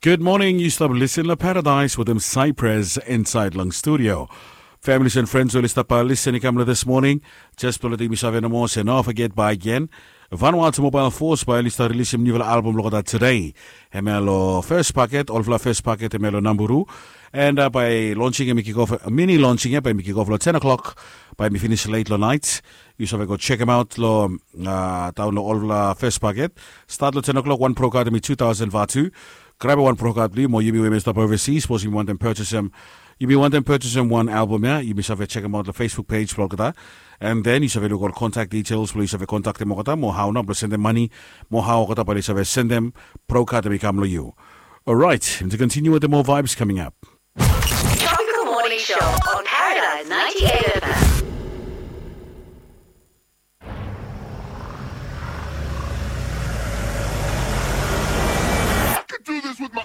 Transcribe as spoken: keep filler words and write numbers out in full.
Gud moning, yu stap lisen long Paradise wetem Cypress insaed long studio. Families and friends oli stap lisen i kam long this morning. Jes blong letem yumi save nomo se no forget bae gen, Vanuatu Mobile Force bae oli stap rilisim niufala album long olgeta today. Hemia long first paket, olfala first paket hemia long Namburu. And bae launching hemi kikof, mini launching ya bae hemi kikof long ten o'clock, bae hemi finis late long naet. Yu save go chekem aot long taon long olfala first paket. Stat long ten o'clock, wan prokat hemi two thousand vatu. Grabem wan prokat blong yu, mo yumi we hemi stap overseas, sapos yumi wantem purchasem, yumi wantem purchasem wan album ya, yumi save chekem aot long Facebook page blong olgeta. And then yu save luk ol contact details blong yu save kontaktem olgeta, mo hao nao blong sendem mane, mo hao olgeta bae oli save sendem prokat hemi kam long yu. Alright, and to continue with the more vibes coming up. Tropical Morning Show on Paradise ninety-eight F M. I could do this with my